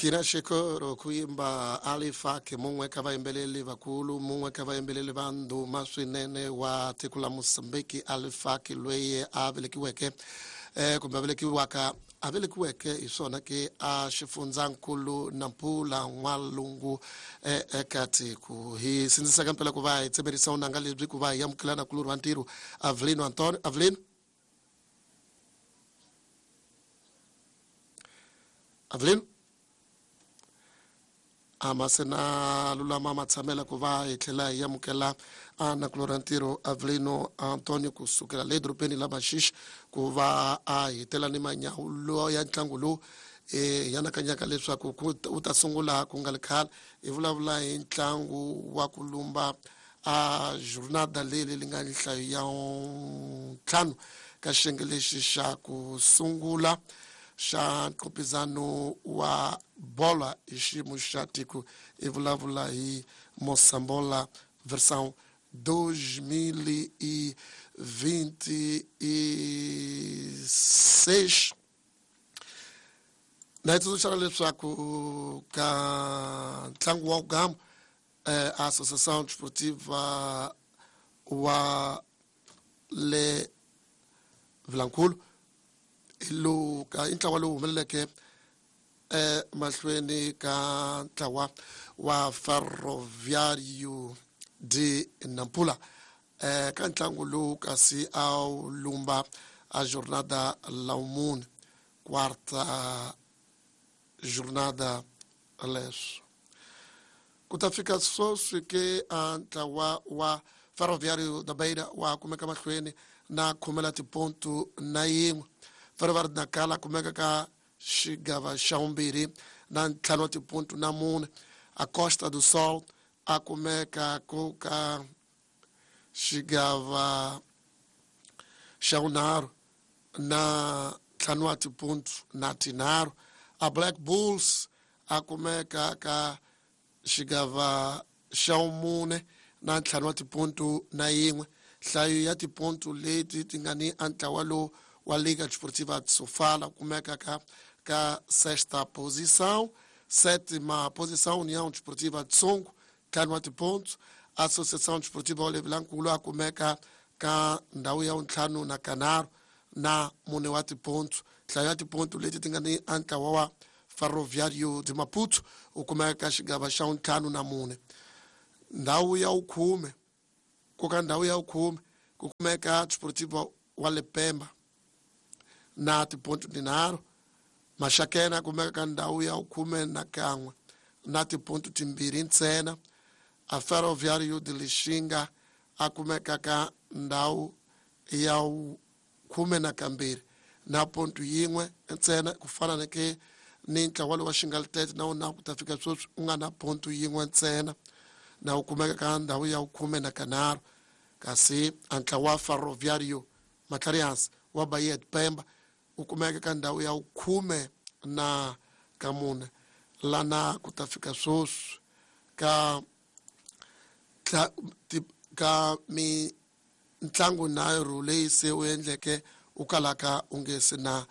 Akina xikoro ku yimba Alifake mun'we ka vayimbeleri vakulu mun'we ka vayimbeleri va ndhuma swinene wa tiko la Mozambique Alifake loyi a velekiweke kumbe a velekiwaka a velekiweke hi swona ke a xifundzankulu Nampula N'walungu eka tiko hi sindzisaka mpela ku va hi tsemerisa vunanga lebyi ku va hi amukela na kulorhi wa ntirho Avelino Antonio Avelino Avelino a ma se na lulama ma tshamela ku va hi tlhela hi amukela a nakulorhi ntirho Avelino Antonio kusukela le dorobeni la Maxixe ku va a hetela ni manyawulo ya ntlangu lowu hi anakanyaka leswaku wu ta sungula ku nga ri khale hi vulavula hi ntlangu wa ku lumba a jornada leyi li nga nhlayo ya ntlhanu ka xiyenge lexi xa ku sungula xa nqopizano wa bola hi xiyimo xa tiko hi vulavula hi Mosambola versão 2026 na hi tsundzuxana leswaku ka ntlangu wa gama Associação Desportiva wa le Vilankulu hi lowu ka i ntlawa lowu humeleleke mahlweni ka ntlawa wa Ferroviário de Nampula ka ntlangu lowu kasi a wu lumba a jornada la mune quarta jornada leswo ku ta fika sweswi ke a ntlawa wa Ferroviário da Beira wa kumeka mahlweni na khumela tipontu na yin'we Ferroviário Nacala kumeka ka xigava xa vumbirhi na ntlhanu wa tipontu na mune a Costa do Sol a kumeka ku ka xigava xa vunharhu na ntlhanu wa tipontu na tinharhu a Black Bulls a kumeka ka xigava xa vumune na ntlhanu wa tipontu na yin'we nhlayo ya tipontu leti ti nga ni a ntlawa lowu wa Liga Desportiva de Sofala kumeka ka sexta posição sétima posição União Desportiva de Songo ntlhanu wa tipontu Associação Desportiva wa Vilankulu a kumeka ka ndhawu ya vuntlhanu na kanharhu na mune wa tipontu nhlayo ya tipontu leti ti nga ni a ntlawa wa Ferroviário de Maputo u kumeka ka xigava xa vuntlhanu na mune ndhawu ya vukhume ku ka ndhawu ya vukhume ku kumeka Desportivo wa le Pemba na tipontu tinharhu Maxakena kumeka ka ndhawu ya vukhume na kan'we na tipontu timbirhi ntsena a Ferroviário de Lixinga a kumeka ka ndhawu ya khume na kambirhi na pontu yin'we ntsena ku fana na ke ni ntlawa lowu wa Xingalitete na wona ku ta fika sweswi u nga na pontu yin'we ntsena na wu kumeka ka ndhawu ya khume na kanharhu kasi a ntlawa wa Ferroviário Matlarihansi wa Bahia de Pemba wu kumeka ka ndhawu ya khume na ka mune lana ku ta fika sweswi ka ka mintlangu nharhu leyi se wu endleke u kalaka u nge se na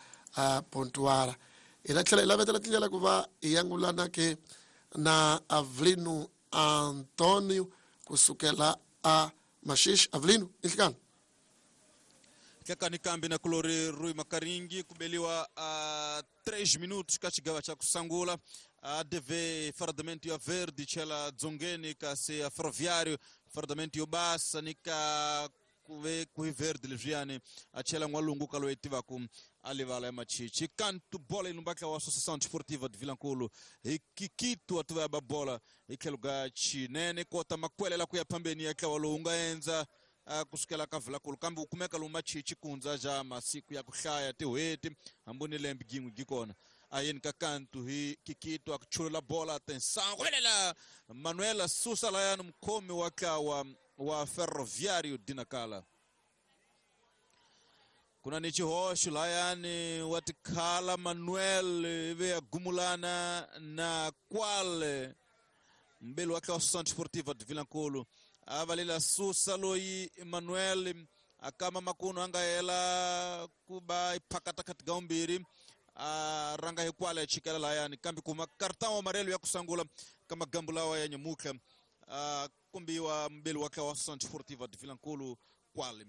pontuara hi ta tlhela hi lavetela tindlela ku va hi yangulana ke na Avelino Antonio kusukela a Maxixe Avelino inhlikani Hlekani kambi na kulori Rui Makaringi kubeliwa 3 minutos ka xigava xa ku sungula a DV fardamento ya verde chela dzongeni kasi ya Ferroviário fardamento yo basa ni ka kuve ku hi verde leswiyani a chela n'walungu ka loyi tivaku a livala ya machichi kantu bola yi lumbatla wa Associação Desportiva de Vilankulu hi Kikito a tiva ya ba bola hi tlhelo ka chinene kota makwelela ku ya phambeni ya ntlawa lowu nga endza kusukela ka Vilankulu kambe wu kumeka lomu machichi kundza ja masiku ya ku hlaya tin'hweti hambi ni lembe gin'we gi kona ayeni ka kantu hi Kikito a ku chulula bola atenção kuvelela Manuela susa layani mukhomi wa ntlawa wa Ferroviário de Nacala kuna ni xihoxo layani wa tikhala Manuel ivi ya gumulana na kwale mbeli wa ntlawa Associação Desportiva de Vilankulu a valela susa loyi Manuel akama makuno a nga hela ku va iphakata kati ga vumbirhi A ranga hi kwale chikela layani kambe kuma cartão amarelo ya kusangula kama gambu lawa ya nyamuka a kumbiwa mbele wa kwa Associação Desportiva de Vilankulo kwale.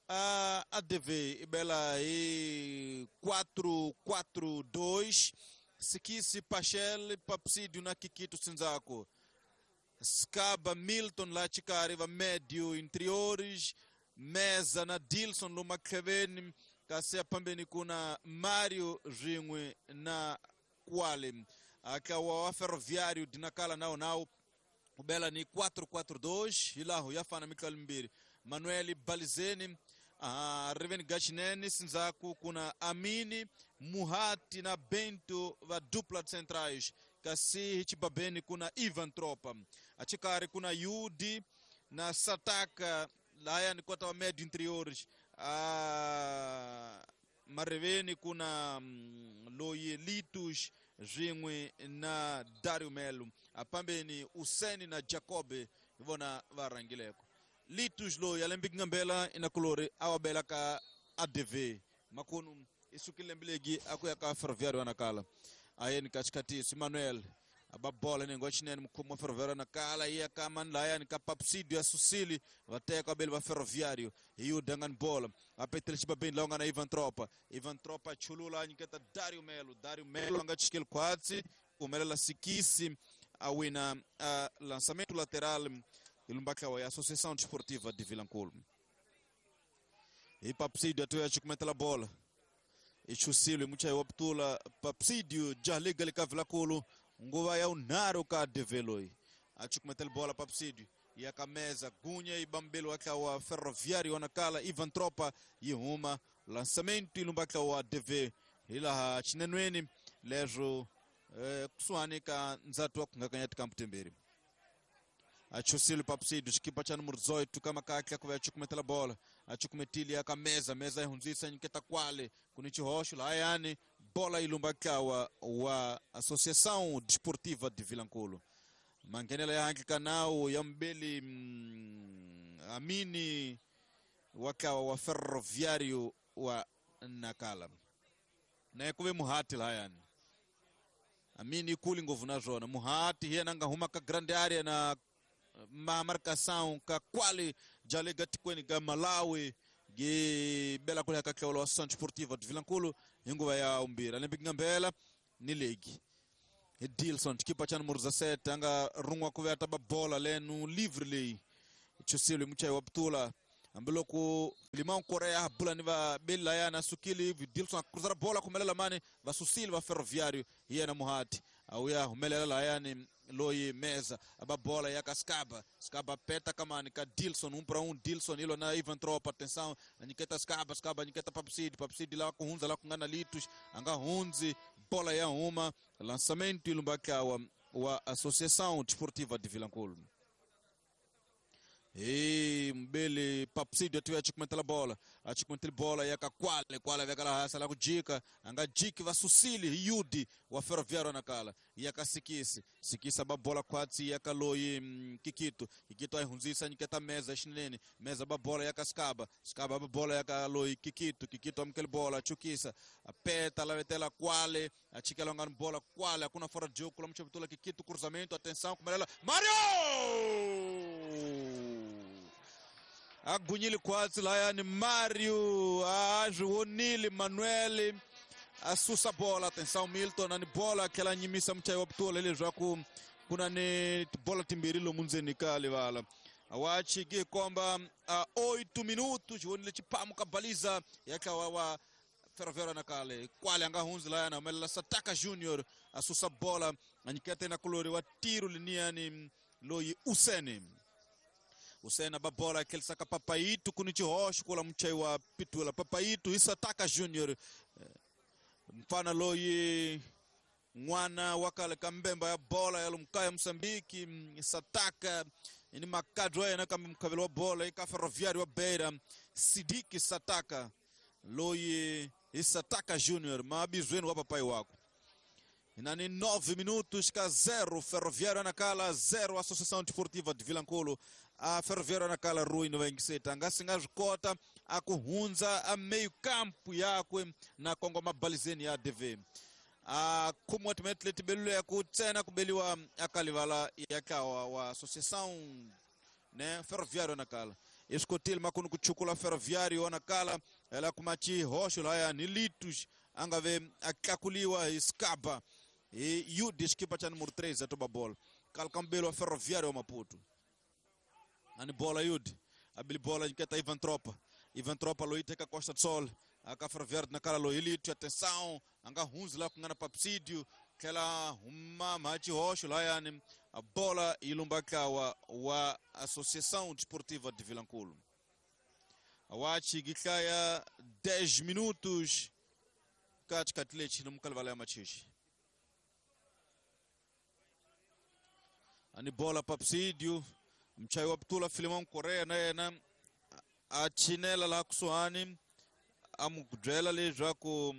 A ADV ibela hi 4-4-2 Sikisi Pachel Papsidio na Kikito Sinzako Skaba Milton la chikari va médio interiores Meza na Dilson Lumakeveni kasi pambeni kuna Mario Ringwe na Kwale akawa wa Ferroviário de Nacala nao ubela ni 4-4-2 hilaho yafana Michael Mbiri Manuel Balizeni Reven Gachinene Sinzaku kuna Amini Muhati na Bento va dupla centrais kasi hichibabeni kuna Ivan Tropa achikari kuna Yudi na Sataka laya ni kota wa médio interiores mareveni kuna Loye Litus Ringwe na Dario Melo apambeni Useni na Jacobe ivona varangileko Litus lo yalembi ngambela inakulori awabela ka ADV makunu isukile mbilegi akuya ka Ferroviário anakala ayeni katikati Manuel ababola nengo chinene mkhumo Ferroviário anakala iya kama nlaya ni kapapsidio ya Susili vateka bele va Ferroviário hiyo dangan bola apetele chibabeni laonga na Ivan Tropa Ivan Tropa chulula nyiketa Dario Melo anga chikele kwatsi kumelela Sikisi awina lançamento lateral ilumbaka wa Associação Desportiva de Vilankulo e Papsidio atoya chikumetela bola ichusile mucha waptula Papsidio jaliga lika Vilankulo nguva ya unaro ka develoi achikumetela bola Papsidio yakameza gunya ibambelo waka wa Ferroviário wanakala Ivan Tropa yihuma lançamento ilumbaka wa DV ila chinenweni lezo kusuani ka nzatu wakungakanyati kamputemberi achusile Papsidio chikipa cha número 18 kama kakya kuva achikumetela bola achikumetili akameza meza ihunzisa nyiketa kwale kunichihosho layani bola ilumbaka wa Associação Desportiva de Vilankulo mangenela ya hangi kanao ya mbeli Amini wakawa wa Ferroviário wa Nakala na kuve Muhati layani Amini kuli nguvu na zona Muhati hiya nanga huma ka grande area na ma marcação ka kwale jalega tikweni ga Malawi ge bela kule ka kleolo Associação Desportiva de Vilankulo inguva ya umbira lembi ngambela ni legi Dilson chikipa cha número 17 anga rungwa kuve ataba bola lenu livre lei chusile muchai waptula ambiloko Limão Korea bula ni va bela ya na sukili Dilson cruzar bola kumelela mane va susili va Ferroviário hiya na Muhati auya humelela la yani loyi meza aba bola ya Skaba Skaba peta kamani ka Dilson 1 para 1 Dilson ilo na Ivan Tropa atenção anyiketa Skaba Skaba anyiketa Papsidi Papsidi la kuhunza la kungana Litus anga hunzi bola ya uma lançamento ilumbaka wa Associação Desportiva de Vilankulo e mbele Papsidio atuya achikumetela bola achikumetela bola yaka kwale kwale vyakala hasa la kujika anga jiki va susili yudi wa Ferroviário nakala yaka sikisi sikisa babola kwatsi yaka loyi kikito kikito ayihunzisa nyiketa meza xinene meza babola yaka skaba skaba babola yaka loyi kikito kikito amukele bola chukisa apeta lavetela kwale achikela ngani bola kwale hakuna fora de jogo kula mchavitula kikito cruzamento atenção kumelela Mario agunyile kwatsi layani Mario azviwonile Manuel asusa bola atenção Milton ani bola akela nyimisa muchayi wa putula leswaku kuna ni bola timbirhi lomu ndzeni ka livala wachiki komba 8 minutos xivonile xipamu ka baliza ya tlawa wa Ferroviário nakale kwale anga hundzi layani humelela Sataka Junior asusa bola anyikete na kulori wa tiro liniyani loyi Useni Usena babola aquele saca papaito kuni chihoxo kula muchai wa pitula papaito Isataka Junior mfana loyi n'wana wa kale ka mbemba ya bola ya lumkaya Mozambique Sataka ni makadro ya yena kambe mukhavelo wa bola eka Ferroviário wa Beira Sidiki Sataka loyi Isataka Junior mabizweni wa papai wako Inani 9 minutos ka 0 Ferroviário Nacala 0 Associação Desportiva de Vilankulo. A Ferroviário Nacala Rui no 27 anga singa zvikota a ku hundza a meio campo yakwe na kongoma balizeni ya ADV a khumiwa timinete leti beluleke ku ntsena ku beliwa aka livala ya ntlawa wa Associação, né, Ferroviário Nacala. I swi kotile makunu ku chukula Ferroviário Nacala ela kuma xihoxo laya ni Litos a nga ve a tlakuliwa hi Scaba hi Yudi xikipa xa numero 3 a toba bola kala ka mubeli wa Ferroviário wa Maputo. Ani bola Yudi abili bola nyiketa Ivan Tropa. Ivan Tropa loyi teka Costa do Sol aka Ferroviário Nacala loyi Lito, atenção a nga hundzi laha ku nga na Papsídio tlhela huma mha xihoxo layani a bola yi lumba ntlawa wa Associação Desportiva de Vilankulo. Awachi gihlaya 10 minutos ka xikati lexi ni mukalivala ya machichi. Ani bola Papsídio mchayi wa Ptula Filimão Correa na yena a chinela laha kusuhani a mu byela leswaku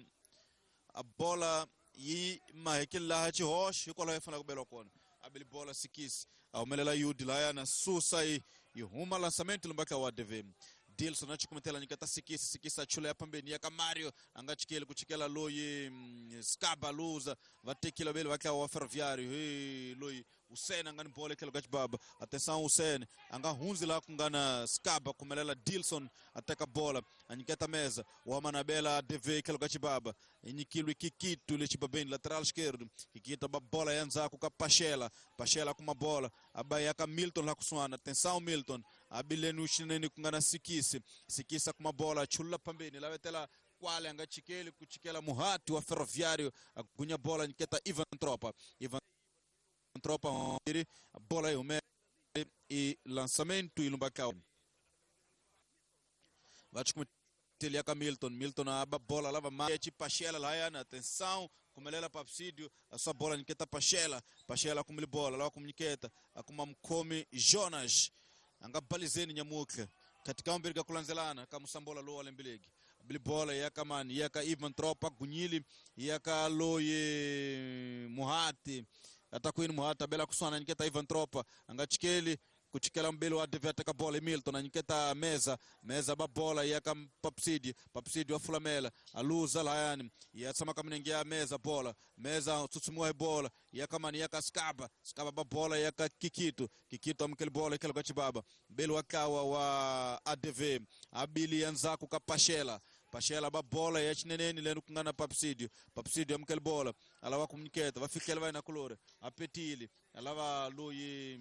a bola yi mahekeli laha xihoxo hikwalaho yi fanele ku beliwa kona. A beli bola Sikisi a humelela Yudi laya na susa yi huma lançamento lumba ka wa ADV. Dilson a chikumetela nyiketa Sikisi, Sikisi a chula ya pambeni ya ka Mario a nga chikeli ku chikela loyi Scaba luza va tekile veli va tlawa wa Ferroviário hi loyi Hussein a nga ni bola etlhelo ka xibaba. Atenção Hussein a nga hundzi laha ku nga na Scaba kumelela Dilson a teka bola a nyiketa meza wa manabela ADV etlhelo ka xibaba i nyikilwe Kikito le xibabeni lateral esquerdo. Kikito ba bola ya ndzhaku ka Pachela, Pachela kuma bola a ba ya ka Milton laha kusuhana. Atenção Milton a bileni xinene ku nga na Sikisi, Sikisi kuma bola chulula pambeni lavetela kwale a nga chikeli ku chikela Muhati wa Ferroviário a gunya bola nyiketa Ivan Tropa. Ivan Tropa bola yi hume i lançamento i lumba ka va chikumeteli ya ka Milton. Milton a ba bola lava ma Pachela laya na atenção kumelela Papsídio a sua bola nyiketa Pachela, Pachela kumili bola lava kumnyiketa akuma mkhomi Jonas a nga balizeni nyamutlhe katika mbirhi ka ku landzelana ka musambola lowu wa lembilegi bili bola ya ka mani ya ka Ivan Tropa gunyili ya ka loyi Muhati atakwini Muhati abela kuswana nyiketa Ivan Tropa a nga chikeli ku chikela mbeli wa ADV ateka bola Milton a nyiketa meza, meza ba bola ya ka Papsídio, Papsídio wa fulamela a luza layani ya tshama ka minenge ya meza bola meza tsutsumiwa hi bola ya ka mani ya ka Scaba, Scaba ba bola ya ka Kikito, Kikito amukeli bola etlhelo ka xibaba mbeli wa ntlawa wa ADV abili ya ndzhaku ka Pachela, Pachela ba bola ya xineneni leni ku nga na Papsídio, Papsídio amukeli bola a lava ku nyiketa va fihlela va yena kulori a petile a lava loyi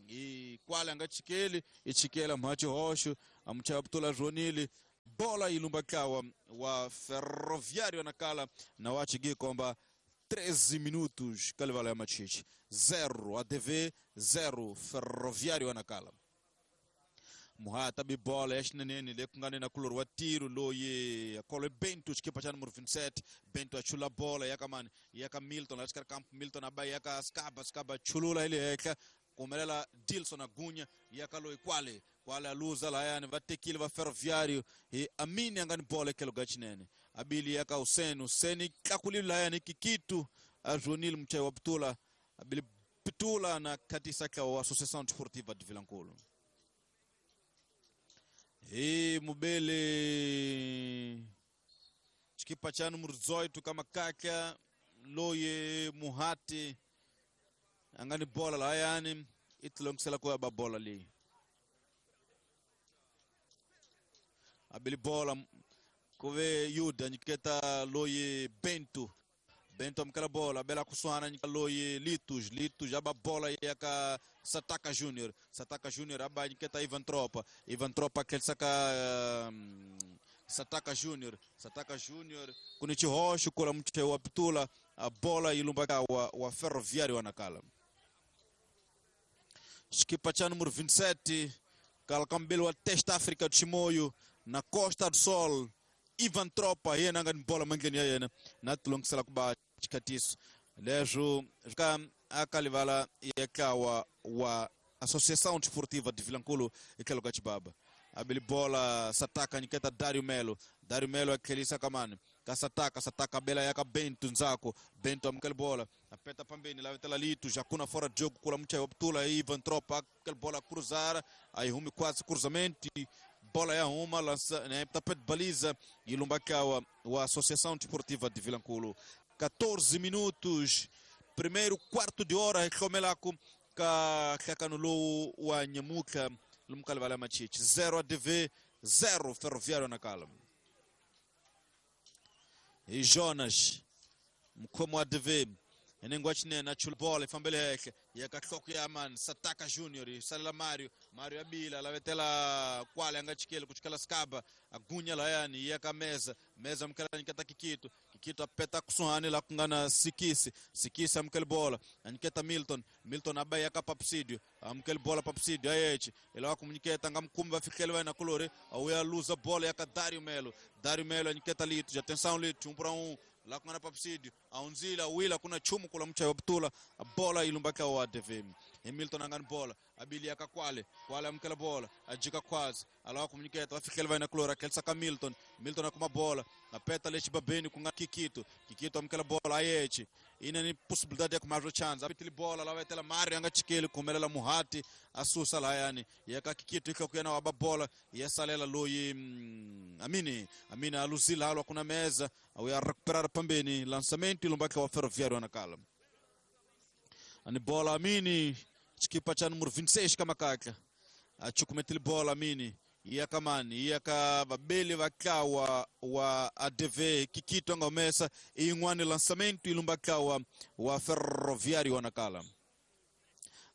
hi kwale a nga chikeli i chikela mha xihoxo a muchaya putula zwonile bola yi lumba ntlawa wa Ferroviário Nacala na wa chigikomba 13 minutos ka livala ya machichi 0 ADV 0 Ferroviário Nacala. Muhata bi bola ya xineneni le ku nga ni na kulori wa tiro loyi akolo Bento xikipa xa numero 27 Bento a chula bola ya ka mani ya ka Milton la xikarhi kampo Milton a ba ya ka Scaba, Scaba chulula hi le henhla kumelela Dilson Agunya ya ka loyi kwale kwale a luza layani va tekile va Ferroviário hi Amini a nga ni bola etlhelo ka xinene abili ya ka Hussein, Hussein tlakulile layani Kikitu a zwonile muchayi wa Putula abili Putula na khatisa ntlawa wa Associação Desportiva de Vilankulo. Hi mubele xikipa xa numero 18 ka makaka loyi Muhati a nga ni bola layani i tilongisela ku ya ba bola leyi abili bola ku ve Yuda nyiketa loyi Bento, Bento amukela bola abela kusuhana nyika loyi Litos, Litos aba bola ya ka Sataka Junior, Sataka Junior aba nyiketa Ivan Tropa, Ivan Tropa tlhelisa ka Sataka Junior, Sataka Junior ku ni xihoxo kula muchayi wa Putula a bola yi lumba ka wa Ferroviário wa Nacala. Xikipa xa numero 27 kala ka mbeli wa Testa África do Chimoio na Costa do Sol Ivan Tropa hi yena a nga ni bola mandleni ya yena na tilongisela ku ba xikhatiso leswo ka aka livala ya ntlawa wa Associação Desportiva de Vilankulo etlhelo ka xibaba abili bola Sataka nyiketa Dario Melo, Dario Melo a tlhelisa ka mani ka Sataka, Sataka bela ya ka Bento ndzhaku Bento amukela bola apeta pambeni lavetela Lito Jacuna fora de jogo kula muchayi wa Putula Ivan Tropa amukela bola cruzar aí humi quase cruzamento Bola ya huma lança, né, tapete baliza e Lumbakawa wa Associação Desportiva de Vilanculo. 14 minutos, primeiro quarto de hora hlomelako ka hlakano wa Nyamuka lumkali vala machichi 0 ADV 0 Ferroviário Nacala. E Jonas mkhomo wa ADV enengwa chinene achula bola ifambele hehle yakahloko ya man Sataka Junior salela Mario Mario abila lavetela kwale angachikele kuchikela skaba agunya layani yaka meza meza mkela nikata Kikito Kikito apeta kusuhani la kungana Sikisi Sikisi amkele bola aniketa Milton Milton abai yaka Papsidio amkele bola Papsidio ayechi ila kumuniketa ngamkumba afikele wena kulore au ya luza bola yaka Dario Melo Dario Melo aniketa Lito atenção Lito 1 para 1 lá kuna Papsidio aunzila wila kuna chumu kula mcha wabtula bola ilumbaka wa ADV Hamilton angani bola abili akakwale kwale amkela bola ajika kwazi alawa kumuniketa afikele vai na klora kelsa ka Milton Milton akuma bola apeta lechi babeni kunga Kikito Kikito amkela bola ayechi ina ni possibilidade ya kumazo chance apitili bola lawa etela Mario anga chikele kumelela Muhati asusa la yani yaka Kikito ikakuyana waba bola yesalela loyi Amini Amini aluzila halwa kuna meza au ya recuperar pambeni lançamento ilumbaka wa Ferroviário Nacala ani bola Amini chikipa cha número 26 kama kaka achukumetili bola Amini iyakamani iyaka babeli vakawa wa ADV Kikito ngomesa ingwani lançamento ilumbakawa wa Ferroviário Nacala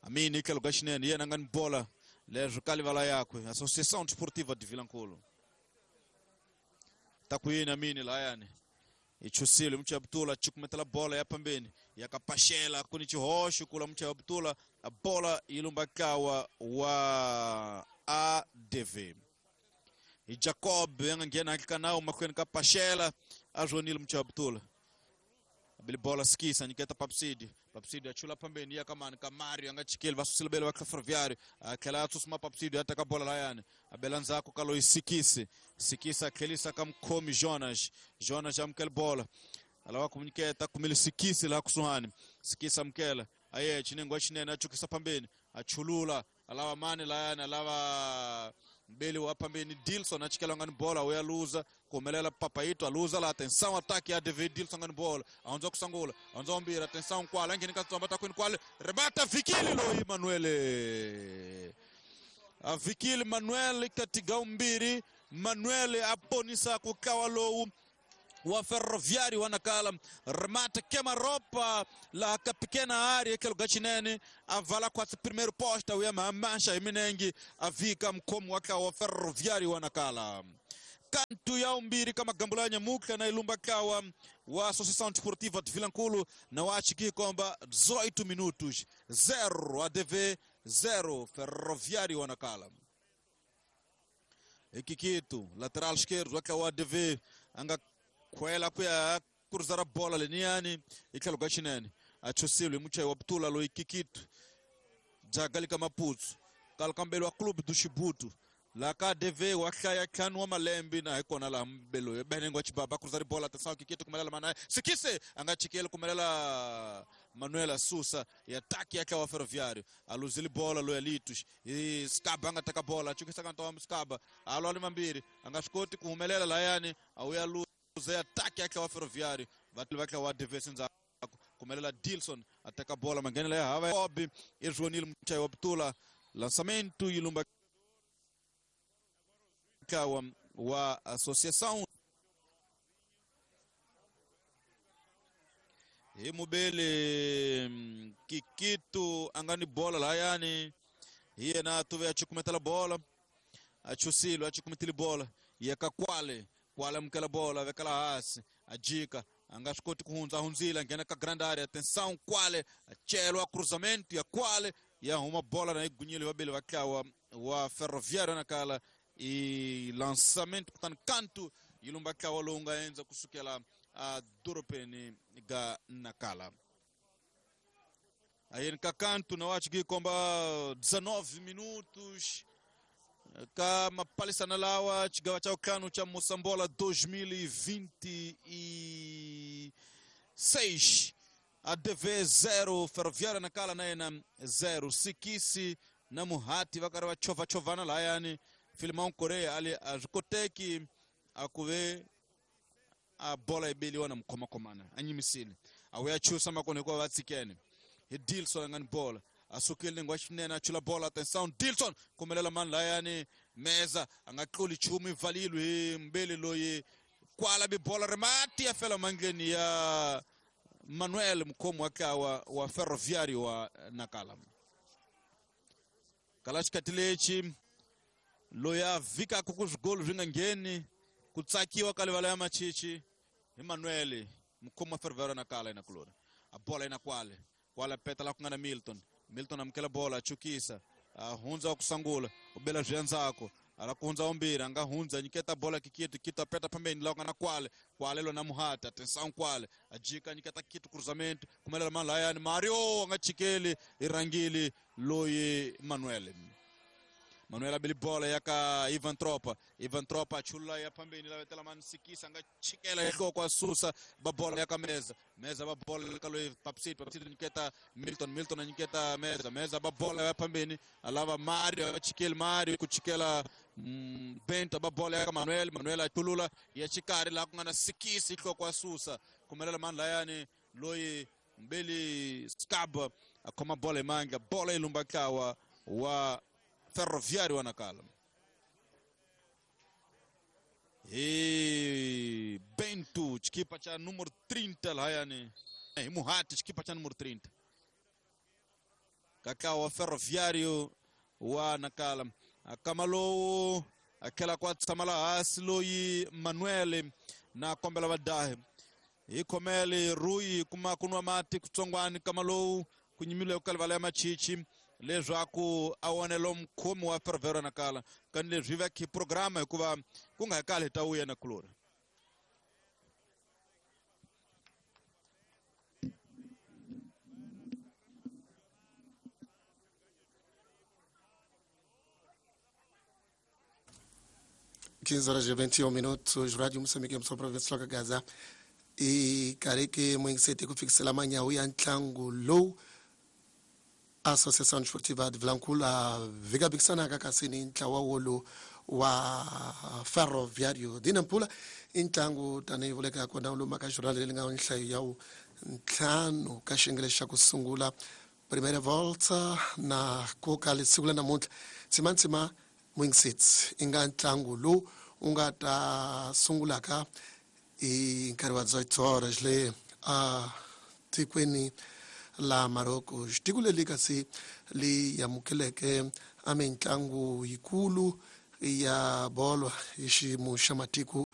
Amini kalugashinene yena ngani bola lezo kalivala yakwe Associação Desportiva de Vilanculo takuyini Amini layani ichusile mcha Abdullah chikumetela bola ya pambeni yakapashela kuni chihosho kula mcha Abdullah bola ilumbakawa wa ADV e Jacob yangena hakikanao makwenu kapashela ajonile mcha Abdullah abili bola skisa niketa Papsidi Papsidi achula pambeni yakamani Kamario angachikeli vasusile bele wa Ferroviário akela atusuma Papsidi ataka bola layani abelanzako kalo isikisi sikisa akelisa kamkomi Jonas Jonas amkele bola alawa kumuniketa kumili sikisi la kusuhani sikisa mkela aye chinengwa chinene achukisa pambeni achulula alawa mani layani alawa mbele wa pambeni Dilson achikela ngani bola uyaluza kumelela Papaito aluza la atenção ataque a ADV Dilson ngani bola aonza kusangula aonza ombira atenção kwala ngeni katsomba takwini kwale rebata Vikili lo Manuel a Vikili Manuel katiga umbiri Manuel aponisa kukawa lowu wa Ferroviário Nacala remata queima-roupa lá a pequena área aquele gachinene avala quase primeiro posta uya mancha iminengi avika mkomo waka wa Ferroviário Nacala kantu ya umbiri kama gambula Nyamuka na ilumba kawa wa Associação Desportiva de Vilanculo na wachiki komba 18 minutos 0 ADV 0 Ferroviário Nacala Ikikitu lateral esquerdo waka wa ADV anga kwela kuya cruzar bola leniani ikhalo gachinene achusile mucha wabtula lo Ikikitu jagalika Maputo kalkambelo wa clube do Chibuto la KDV wahlaya tlhanu wa malembe na hikona laha mbelo benengwa chibaba cruzar bola atenção Kikito kumelela manaye Sikise anga chikele kumelela Manuela Susa e ataque yake wa Ferroviário aluzile bola lo Elitos e Skaba anga taka bola chukisa kantoma Skaba alo ali mambiri anga shikoti kuhumelela layani auya luza ataque yake wa Ferroviário vatili vake wa ADV ndzako kumelela Dilson ataka bola mangenela ya hava Obi Irjonil Mchai wa Btula lançamento ilumba wa Associação Imubele Kikito angani bola layani yena tuve achikumetela bola achusilo achikumetele bola yekakwale kwale mkela bola vekala hasi ajika angashikoti kuhunza hunzila ngena ka grande área atenção kwale achelwa cruzamento ya kwale ya uma bola na igunyile wabele vakawa wa Ferroviário Nacala e lançamento kutani kantu ilumba kawa longa enza kusukela a doropeni ga Nacala aí kakantu na wachi komba 19 minutos ka mapalisana lawa chigawa cha ukano cha Moçambola 2026 ADV 0 Ferroviária Nacala naena 0 Sikisi na Muhati vakari vachovachovana layani Filimão Correia ali a swi koteki a ku ve a bola yi beliwa na mukhomakhomana a nyimisile a wuya chusa makona hikuva va tshikene hi Dilson a nga ni bola a sukile nengwa xinene a chula bola atenção Dilson kumelela mani layani Meza a nga tluli nchumu yi valile hi mbeli loyi kwala bibola ri mati ya fela mandleni ya Manuel mukhomi wa ntlawa wa Ferroviário wa Nakala. Kala xikati lexi loyi a vhikaka ku swigolo swi nga ngheni ku tsakiwa ka livala ya machichi hi Manuel mukhomi wa Ferroviário wa Nakala yina kulori a bola yina kwale kwale peta la ku nga na Milton. Milton amukela bola a chukisa a hundza wa ku sangula u bela swi endzhaku ala ku hundza umbirhi a nga hundza nyiketa bola kikitu kitu a peta phambeni la ku nga na kwale kwale lona muhata atenção kwale a jika nyiketa kitu cruzamento kumelela mani layani Mario a nga chikeli i rhangile loyi Manuel. Manuel a beli bola ya ka Ivan Tropa. Ivan Tropa a chulula ya phambeni la vetela mani Sikisa nga chikela hi nhloko a susa ba bola ya ka Meza. Meza ba bola ka loyi Papsiti. Papsiti nyiketa Milton. Milton a nyiketa Meza. Meza ba bola ya phambeni a lava Mario a chikeli Mario ku chikela Bento ba bola ya ka Manuel. Manuel a chulula ya xikarhi laha ku nga na Sikisi hi nhloko a susa kumelela mani layani loyi Mbeli Scab a khoma bola hi mandla bola yi lumba ntlawa wa Ferroviário wa Nakala. Hi Bento xikipa xa número 30 lahayani hi Muhati xikipa xa número 30 ka ntlawa wa Ferroviário wa Nakala. A kama lowu a tlhela ku a tshama laha hansi loyi Manuel na kombela vadahi hi khomele Rui kuma ku nwa mati kutsongwani kama lowu ku nyimile ku kalivala ya machichi leswaku a wonelo mukhomi wa Ferroviário Nakala kani leswi va khi programa hikuva ku nga kali hi ta wuya na kulori. Horas e 21 minutos, Rádio Moçambique, Moçambique, Província de Gaza. E kareke mwingisete kufikisela manyawu ya ntlangu lowu Associação Desportiva de Vilankulo vikabikisanaka kasi ni ntlawa wolo wa Ferroviário de Nampula i ntlangu tanihi vuleka kona wu luma ka jornal leri nga nhlayo ya wu ntlhanu ka xiyenge xa ku sungula primeira volta na koka siku la namuntlha tsimantsima mwingiseti i nga ntlangu lowu wu nga ta sungulaka hi nkarhi wa 18 horas le a tikweni la Marocco. Tiko leri kasi li amukeleke a mitlangu yikulu ya bolo hi xiyimo xa matiko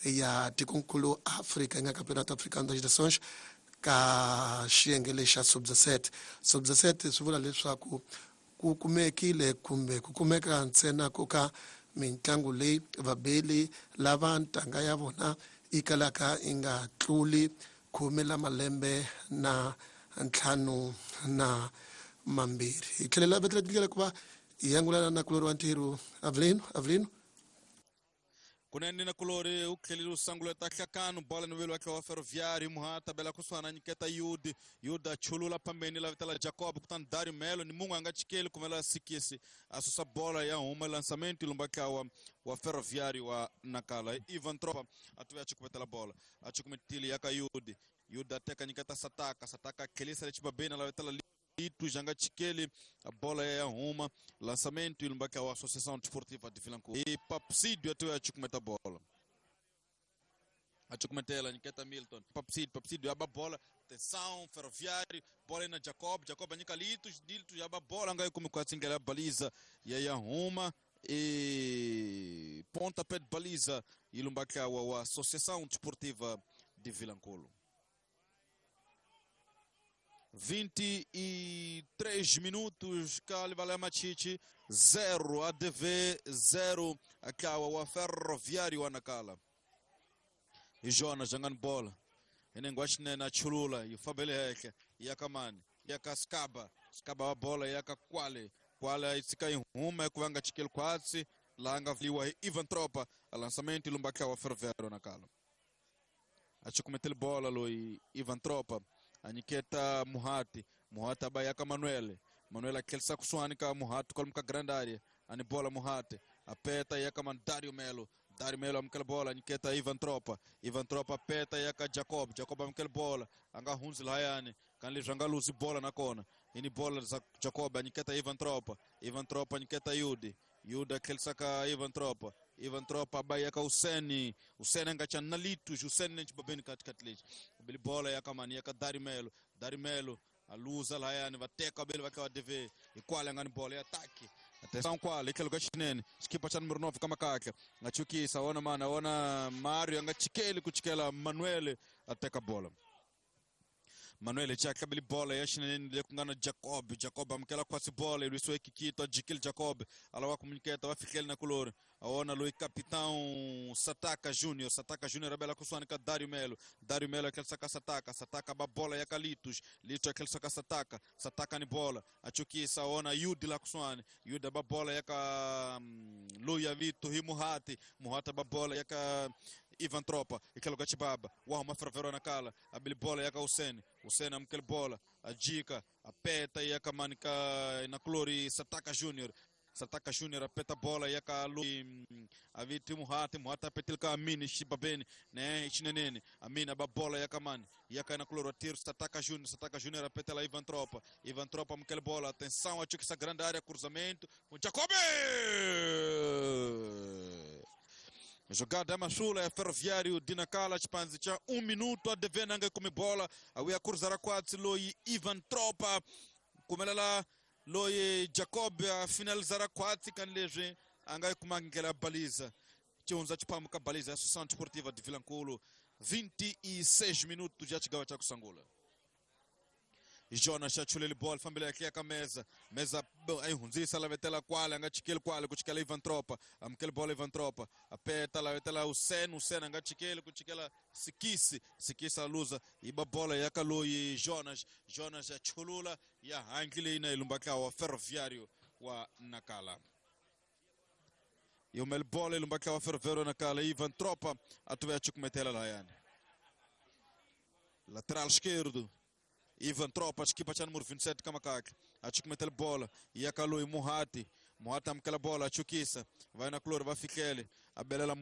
ya tikonkulu Afrika yi nga Campeonato Africano das Nações ka xiyenge lexa sub-17. Sub-17 swi vula leswaku ku kumekile kumbe ku kumeka ntsena ku ka mitlangu leyi vabeli lava ntanga ya vona yi kalaka yi nga tluli 10 la malembe na 52. Hi tlhelela vetela tindlela ku va hi angulana na kulori wa ntirho Avelino. Avelino kunene na kulori u tlhelile u sanguleta hlakano bola ni velo wa ntlawa wa Ferroviário Muhata bela kusuhana nyiketa Yudi. Yuda chulula phambeni la vitela Jacob kutani Dario Melo ni munhu a nga chikeli kumela Sikisi a susa bola ya huma lançamento lumba ntlawa wa Ferroviário wa Nakala. Ivan Tropa a tuya chikumetela bola a chikumetile ya ka Yudi. Yuda teka nyiketa Sataka. Sataka tlhelisa le xibabeni la vitela Litu janga chikeli a bola ya huma lançamento lumba ntlawa wa Associação Desportiva de Vilankulo. E Papsídio atuya chukumeta bola achukumetela nyiketa Milton. Papsídio, Papsídio aba bola atenção Ferroviário bola na Jacob. Jacob anyika Litu, Litu aba bola ngai kumi kwa tsingela baliza ya huma e pontapé de baliza ilumba ntlawa wa Associação Desportiva de Vilankulo. 23 minutos, Kalivala Machichi 0, ADV 0, Akawa wa Ferroviário wa Nakala. E Jonas jangani bola inengwashinene achulula yifambele hehle yakamani yakaskaba skaba wa bola yakakwale kwale itsika ihuma ekuvanga chikeli kwatsi langa vliwa hi Ivan Tropa a lançamento ilumba wa Ferroviário Nakala. Achikumetele bola loi Ivan Tropa anyiketa Muhati. Muhati abayaka Manuel. Manuel akhelisa kusuhani ka Muhati kwalomu ka grande area ani bola Muhati Apeta yaka man Dario Melo. Dario Melo amukela bola nyiketa Ivan Tropa. Ivan Tropa peta yaka Jacob. Jacob amukela bola anga hunzi lahayani kan leswi anga luzi bola nakona. Ini bola za Jacob anyiketa Ivan Tropa. Ivan Tropa anyiketa Yudi. Yuda akhelisaka Ivan Tropa. Ivan Tropa bayaka Useni. Useni anga chana Litus. Useni nenchi babeni katikati lexi. Bili bola yaka mani yaka Dario Melo. Dario Melo aluza lahayani vateka bele vaka DV. Ikwale angani bola ya ataki. Atenção kwale itlhelo ka xinene xikipa xa numero 9 ka makakla nga chukisa wona mana wona Mario anga chikeli ku chikela Manuel ateka bola. Manuel chaka bili bola ya xinene le ku nga na Jacob. Jacob amukela kwasi bola ilwisiwe Kikito ajikile Jacob alawa kumunyiketa va fihleli na kulori awona loyi capitão Sataka Júnior. Sataka Júnior abela kusuhani ka Dario Melo. Dario Melo akhelisa ka Sataka. Sataka ba bola ya ka Litus. Litus akhelisa ka Sataka. Sataka ni bola achukisa awona Yudi la kusuhani. Yudi ba bola ya ka loyi ya vito hi Muhati. Muhati ba bola ya ka Ivan Tropa itlhelo ka Chibaba wa huma Ferroviário na kala abili bola ya ka Useni. Useni amukela bola ajika apeta ya ka mani ka na kulori Sataka Júnior. Sataka Júnior apeta bola ya ka aviti Muhati. Muhati apetil ka Amini Shibabeni né Chinenene. Amini ba bola ya ka mani ya ka na kulori tiro Sataka Júnior. Sataka Júnior apeta lá Ivan Tropa. Ivan Tropa amukela bola atenção acho que essa grande área cruzamento com Jacob. Jogada mashula ya Ferroviário de Nacala chipanzi cha 1 minuto a devena anga kumi bola awia cruzar kwatsi loyi Ivan Tropa kumelela loyi Jacob a finalizar kwatsi kan leswi anga kumangela baliza chionza chipamu ka baliza Associação Desportiva de Vilankulo 26 minutos já chigawa cha kusangula. Jonas achulele bola fambele yake ka meza. Meza ayihundzisa lavetela kwale anga chikeli kwale ku chikela Ivan Tropa. Amukela bola Ivan Tropa apeta lavetela Useni. Useni anga chikeli ku chikela Sikisi. Sikisi aluza iba bola ya ka loyi Jonas. Jonas achulula ya hangile ina ilumbaka wa Ferroviário wa Nacala. Yomel bola ilumbaka wa Ferroviário Nacala. Ivan Tropa atuve achikumetela layani. Lateral esquerdo Ivan Tropa, equipa cha número 27 Kamakaka. Achukumetela bola. Iakalui Muhati. Muhati amukela bola, achukisa. Vai na cloro, vai fiquele. Abelela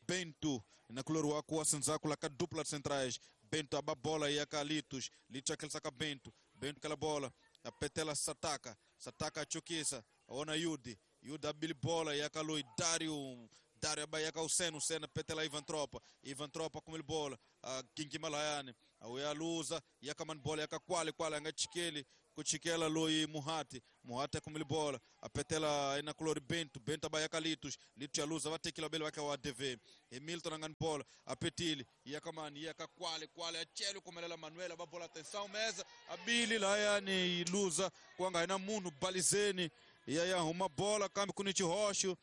Bento. Na cloro waku wasenzaku la dupla de centrais. Bento aba bola iaka Litus. Litus aquele saca Bento. Bento aquela bola. Apetela Sataka. Sataka achukisa. Ona Yudi. Yudi abili bola iakalui Dario. Dario abayaka Useni. Useni petela Ivan Tropa. Ivan Tropa com ele bola. Kinki Malayane. Auya luza yaka man bola yaka kwale kwale anga chikeli kuchikela loyi Muhati. Muhati com ele bola. Apetela ina kulori Bento. Bento abayaka Litus. Litus ya luza vatekila bele waka wa DV. Hamilton angan bola. Apetili yaka man yaka kwale kwale achelu kumelela Manuela babola atenção mesa. Abili layani luza kwanga ina munu balizeni. Ya uma bola kambi kunichi rocho.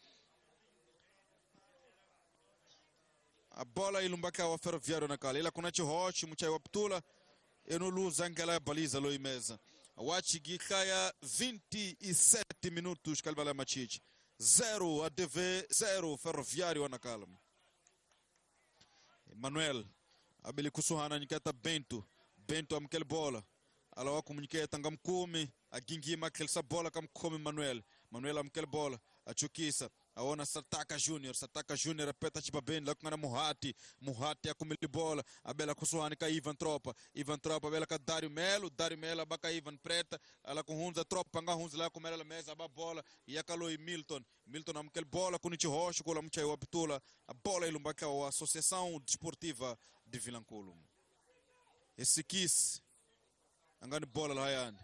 A bola ilumbaka wa Ferroviário Nacala. Ila kuna chihochi muchai wa ptula. Eno luza ngela baliza loi mesa. Wachigikaya 27 minutos kalbala machichi. 0 ADV 0 Ferroviário Nacala. Manuel abili kusuhana nyiketa Bento. Bento amkel bola. Alawa kumunyiketa ngamkumi. Agingima kelsa bola kamkumi Manuel. Manuel amkel bola. Achukisa. Aona Sataka Júnior. Sataka Júnior apeta Chibabeni lá com Muhati. Muhati akumili bola. Abela kusuhani ka Ivan Tropa. Ivan Tropa abela ka Dario Melo. Dario Melo abaka Ivan Preta. Ela com Hunza Tropa anga Hunza lá com ela mesa aba bola. E akaloi Milton. Milton amkel bola com Nichi Rocha com la muchai waptula. A bola ilumbaka a Associação Desportiva de Vilankulo. Esse quis angani bola lá yani.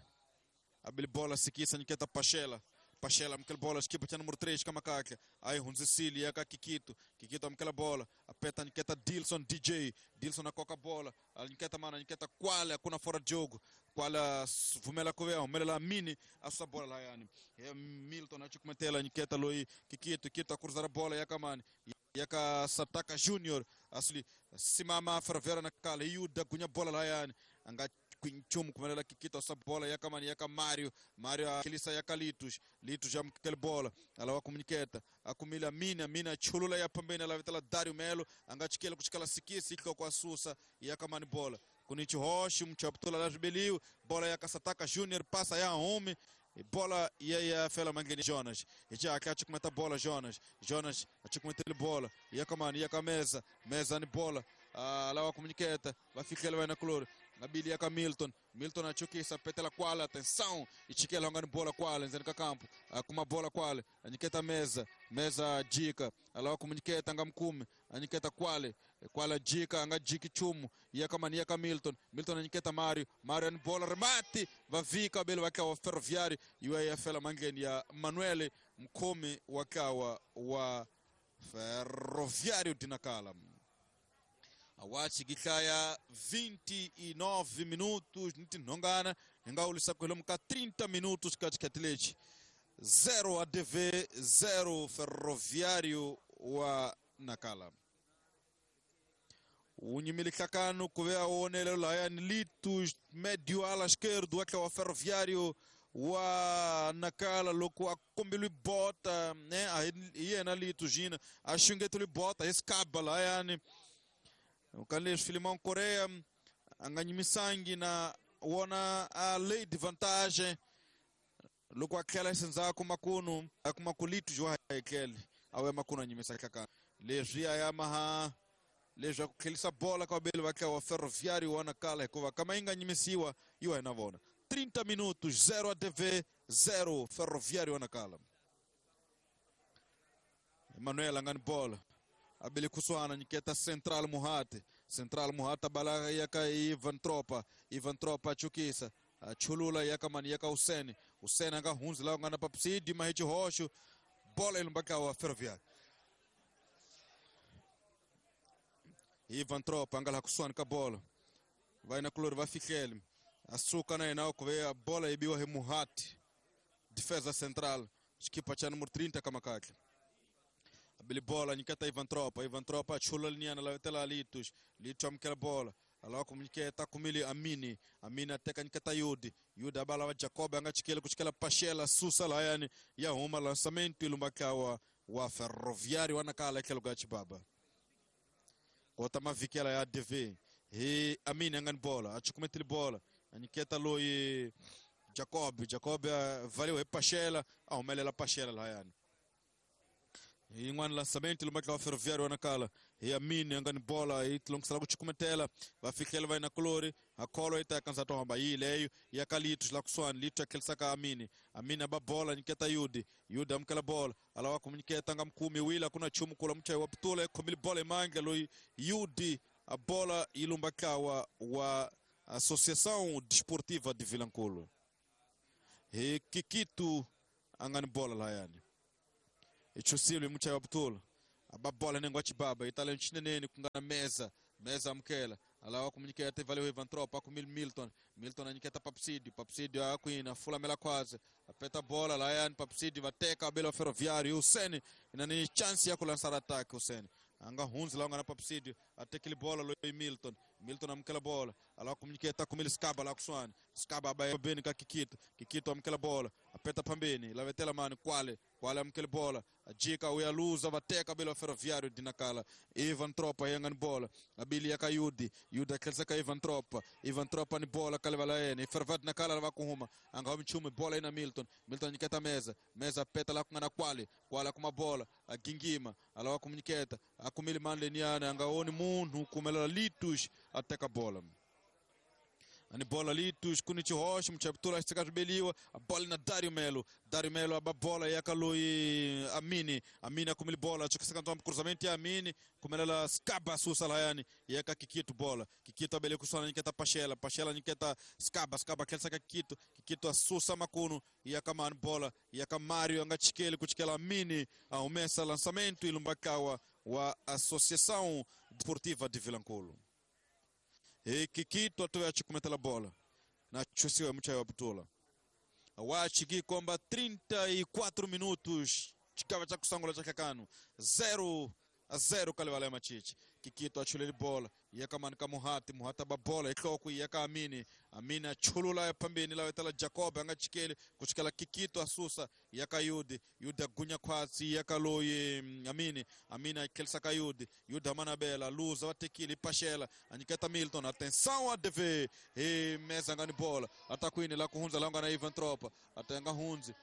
Abeli bola sikisa niketa Pachela. Pachela amkel bola equipa cha número 3 Kamakaka. Aí Hunzicili yaka Kikito. Kikito amkela bola. Apeta niketa Dilson DJ. Dilson akoka bola. Niketa mana niketa Kwale akuna fora jogo. Kwale vumela kuvea umelela mini asa bola la yani. Milton achikumetela niketa loi Kikito. Kikito akuruzara bola yaka mani. Yaka Sataka Junior asli simama Ferroviário Nacala. Yuda gunya bola la yani. Anga Quinchum kumelela Kikito asa bola yaka mani yaka Mario. Mario akilisa yaka Litus. Litus amkel bola. Alawa komuniketa. Akumila mina mina chulula ya pambeni alavetela Dario Melo angachikela kuchikala sikisi iko kwa susa yaka mani bola. Kunichi Rocha mchaptula la Jubilio bola yaka Sataka Junior passa ya home Bola ia fela mangeni Jonas. Já que cometa bola Jonas. Jonas a cometa bola. Ia com mano, ia com a mesa. Mesa ni bola. Lá a comuniqueta. Vai ficar ele vai na cloro. Na bilia com Milton. Milton a chukisa petela quala, atenção. E chiquela ngani bola quala, nzeni campo. Com uma bola quala. A mesa. Mesa dica. Lá a comuniqueta ngamkumi. A quale. Quala dica, anga diki chumu. Ia com mania com Milton. Milton a Mário. Mário ni bola remate. Vai vi cabelo vai o Ferroviário. E o AFL mangeni ya Manuel Mkumi wakawa wa Ferroviário de Nacala. Awachi gitlaya 29 minutos ntinhongana hingaulisa kuhelomuka 30 minutos katikati 0 ADV 0 Ferroviário wa Nacala. Unyimilihlakano kuve aonele laya ni Litos médio ala esquerdo wa Ferroviário wa Nacala loko akombelwi bota né yena Litos gina a xungeteli bota escaba layani Ukalesh Filimão Coreia anganyimisangi na wona a lei de vantagem loko aquela senza kumakunu akumakulitu jwa ekele awe makunu anyimisa kaka lezwi ayamaha lezwi akukhelisa bola kwa bele wakhe wa Ferroviário wa Nacala hikuva kama inganyimisiwa iwa inavona 30 minutos 0 ADV 0 Ferroviário wa Nacala. Emanuel angani bola abele kuswana nyiketa Central Muhate. Central Muhate bala yaka Ivan Tropa. Ivan Tropa chukisa chulula yaka mani yaka Hussein. Hussein anga hunzi la ngana papsidi mahichi hoshu bola ilumbaka wa Ferroviário. Ivan Tropa anga la kuswana ka bola. Vai na klor vai fikele. Asuka na enao kuve a bola ibiwa he Muhate. Defesa central. Equipa cha número 30 kama kake. Abili bola nyiketa Ivan Tropa. Ivan Tropa chula linyana la tela Litos. Litos amkela bola. Alawa kumnyiketa kumili Amini. Amini ateka nyiketa Yudi. Yudi abala wa Jacob anga chikele kuchikela Pachela susa la yani ya huma lançamento ilumbakawa wa Ferroviário wa Nacala ekelo gachi baba. Kota mavikela ya ADV. He Amini angani bola. Achikumetili bola. Anyiketa loi Jacob. Jacob valeu he Pachela. Aumelela Pachela la yani. Yin'wana lançamento lumbaka wa Ferroviário wa Nacala. E Amini angani bola e longisela ku chikumetela va fikela va ina kulori akholo ita kansa to hamba yi leyo ya kalitu la kuswani litu akhelisa ka Amini. Amini aba bola nyiketa Yudi. Yudi amkela bola alawa kumnyiketa ngamkumi wila kuna chumu kula mchai wa putula ekhomile bola emandla loyi Yudi a bola ilumbaka wa Associação Desportiva de Vilankulo. E Kikitu angani bola la yani. Ichusile mchai wa putula aba bola nengo chibaba itale nchineneni kungana mesa. Mesa amkela alawa kumnyiketa valeu Ivan Tropa kumil Milton. Milton anyiketa Papsidi. Papsidi akuina fula mela kwaze apeta bola la yani Papsidi vateka abelo Ferroviário Hussein inani chance ya kulançar ataque Hussein anga hunzi la ngana Papsidi atekele bola lo Milton. Milton amkela bola alawa kumnyiketa kumil Skaba la kuswani Skaba ba beni ka Kikito. Kikito amkela bola apeta pambeni la vetela mani Kwale. Kwale amkele bola ajika uyaluza vateka belo Ferroviário de Nacala. Ivan Tropa yangani bola abili yaka Yudi. Yudi akhelisa ka Ivan Tropa. Ivan Tropa ni bola kalevala yena Ferroviário de Nacala va kuhuma anga mchume bola ina Milton. Milton nyiketa mesa. Mesa peta la kungana Kwale. Kwale kuma bola agingima alawa kumnyiketa akumili manle niana anga oni munhu kumela Litos ateka bola. Ani bola Litos kuni chihoshi mchaptula chitikatubeliwa a bola na Dario Melo. Dario Melo aba bola yakaloi Amini. Amini akumili bola chikisaka ntomba cruzamento ya Amini kumelela Skaba susa layani yaka Kikito bola. Kikito abele kusana nyiketa Pachela. Pachela nyiketa Skaba. Skaba kelsaka Kikito. Kikito asusa makunu yaka man bola yaka Mario anga chikele kuchikela Amini aumesa lançamento ilumbakawa wa Associação Desportiva de Vilankulo. E Kikito atoya chikumetela bola na chusiwe mchai wa putula awachiki komba 34 minutos chikava cha kusangula cha kakano 0-0 kalevala ya machichi Kikito a chuleli bola ya ka mani ka Muhati, Muhati ba bola hi nhloko ya ka Amini, Amini a chulula ya phambeni lawa tala Jacob a nga chikeli ku chikela Kikito a susa ya ka Yudi, Yudi a gunya khwatsi ya ka loyi Amini, Amini a tlherisa ka Yudi, Yudi a manabela luza va tekile paxela a nyiketa Milton, atenção a DV hi meza nga ni bola ata kwini la ku hundza la nga na Ivan Tropa a tenga hundzi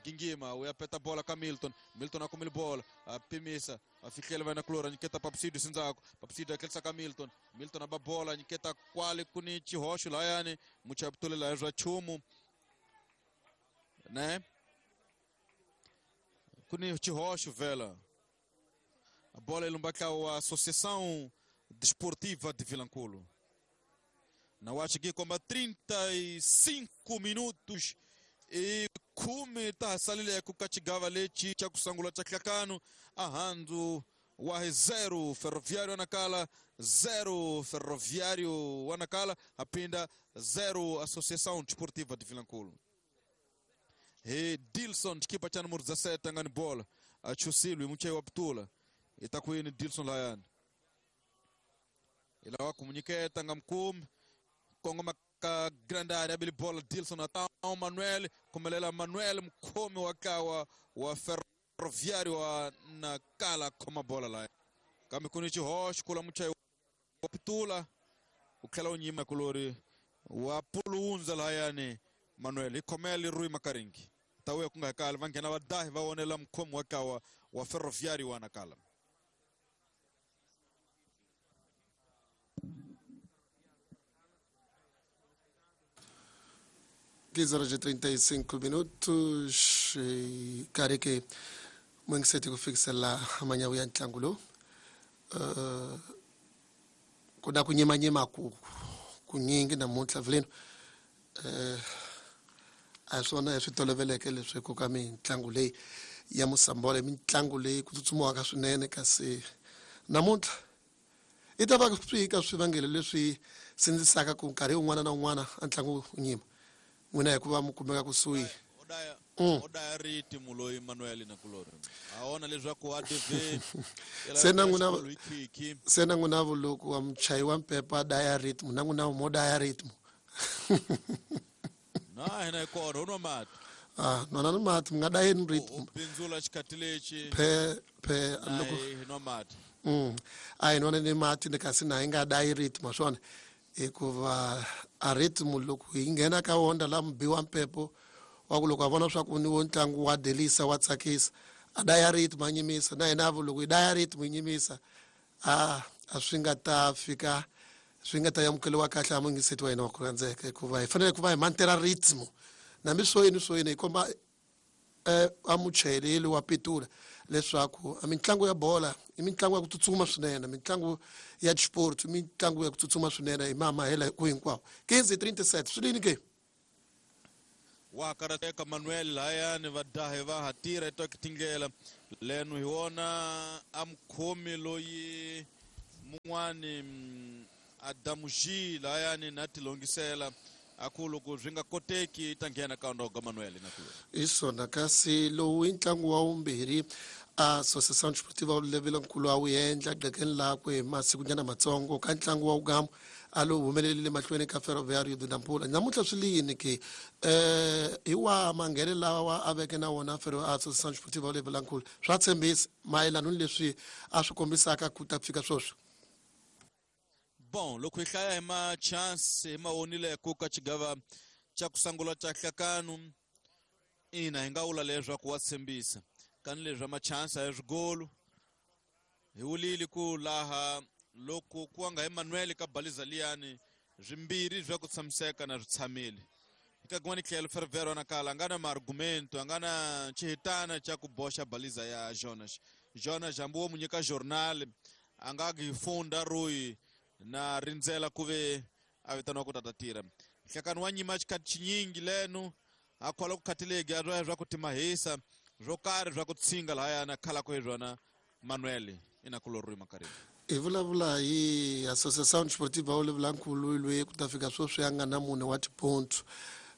gingima u ya peta bola ka Milton, Milton a kumile bola a pimisa a fihlela vana kulora nyiketa Papsido sindzako, Papsido a tlherisa ka Milton, Milton a ba bola nyiketa kwale ku ni xihoxo layani muchaputulela swa chumu ne ku ni xihoxo vela a bola ilumba wa Associação Desportiva de Vilanculo. Na acho que komba 35 minutos e kumi tahasalile kukachigava lechi cha kusangula cha hlakano ahandu wa 0 Ferroviário Anacala 0 Ferroviário Anacala apinda 0 Associação Desportiva de Vilanculo. E Dilson chikipa cha número 17 angani bola achusilwi muchai wa putula itakuini Dilson layani ila kumunyiketa ngamkumi kongoma ka grande área abili bola Dilson atao Manuel kumelela Manuel mkhomi wa wa Ferroviário wa Nacala khoma bola la kambe kuni xihoxo kula muchai wa pitula u tlhela u nyima kulori wa pulunza layani Manuel ikhomele Rui Makaringi tawe ku nga kala va nghena va dahi va vonela mkhomi wa kawa wa Ferroviário wa Nacala. Horas e 35 minutos kareke mwengiseti kufikisa la amanyawu ya ntlangu kuna kunyemanyema kunyingi namuntlha vileno a swona swi toloveleke leswi ka mitlangu leyi ya musambole mitlangu leyi ku tsutsumiwaka swinene kasi namuntlha i ta va swi ka swivangelo leswi sindzisaka ku nkarhi wun'wana na wun'wana a ntlangu wu nyima n'wina hikuva mi kumeka kusuhi. Oda ritmo loyi Manuel na kulori aona leswaku a DV se na n'wina vuloko wa muchayi wa mpepa daya ritmo na n'wina mo daya ritmo na hina kona unwa mati nwana ni mati mi nga dayeni ritmo bindzula xikhathi lexi phe loko hi nwa mati a hi nwana ni mati ni kasi na hi nga dayi ritmo swona hikuva a ritmo loko hi nghena ka wona la mubi wa mpepo wa ku loko a vona swa ku ni wo ntlangu wa delisa wa tsakisa a daya ritmo a nyimisa na hina vo loko hi daya ritmo hi nyimisa a swi nga ta fika swi nga ta amukeliwa kahle a mungiseti wa hina wa ku rhandzeka hikuva hi fanele ku va hi mantela ritmo nambi swo yini swo yini hi komba a muchayeleli wa pitula leswaku a mitlangu ya bola i mitlangu ya ku tsutsuma swinene mitlangu ya xiport mitlangu ya ku tsutsuma swinene hi mamahela ku hinkwawo 15:37 swi lini ke wa karateka Manuel layani va dahe va hatira etoke tindlela leno hi wona a mukhomi loyi mun'wani Adamuji layani na tilongisela aku loko swi nga koteki ta nghena ka ndoga Manuel na ku isona kasi lowu i ntlangu wa vumbirhi a Associação Desportiva Vilankulo a wu endla gqekeni lakwe hi masikunyana matsongo ka ntlangu wa wugamu a lowu humelelile mahlweni ka Ferroviário de Nampula namuntlha swi liyini ke hi wa manghele lawa a veke na wona Associação Desportiva Vilankulo swa tshembisa mayelana ni leswi a swi kombisaka ku ta fika sweswi. Bom, loko hi hlaya hi ma-chance hi ma vonileko ka xigava xa ku sungula xa hlakano ina hi nga vula leswaku wa tshembisa kani leswi ma-chance a hi swigolo hi wulile ku laha loko ku nga hi Manuel ka baliza liyani swimbirhi swa ku tshamiseka na swi tshamile eka kun'wana tlhelo Ferroviário Nacala a nga na maargumento a nga na xihitana xa ku boxa baliza ya Jonas. Jonas hambi wo mu nyika journal a nga hi funda royi na rindzela ku ve a vitaniwa ku tata tirha nhlekani wa nyima xikhathi xinyingi leno a khola ku khathilegi a swa ku timahisa swo karhi swa ku tshinga lahayana khalako hi swona Manuel ina kulori Makarini. Hi vulavula hi Associação Desportiva Vilankulo loyi ku ta fika sweswi a nga na mune wa tipontso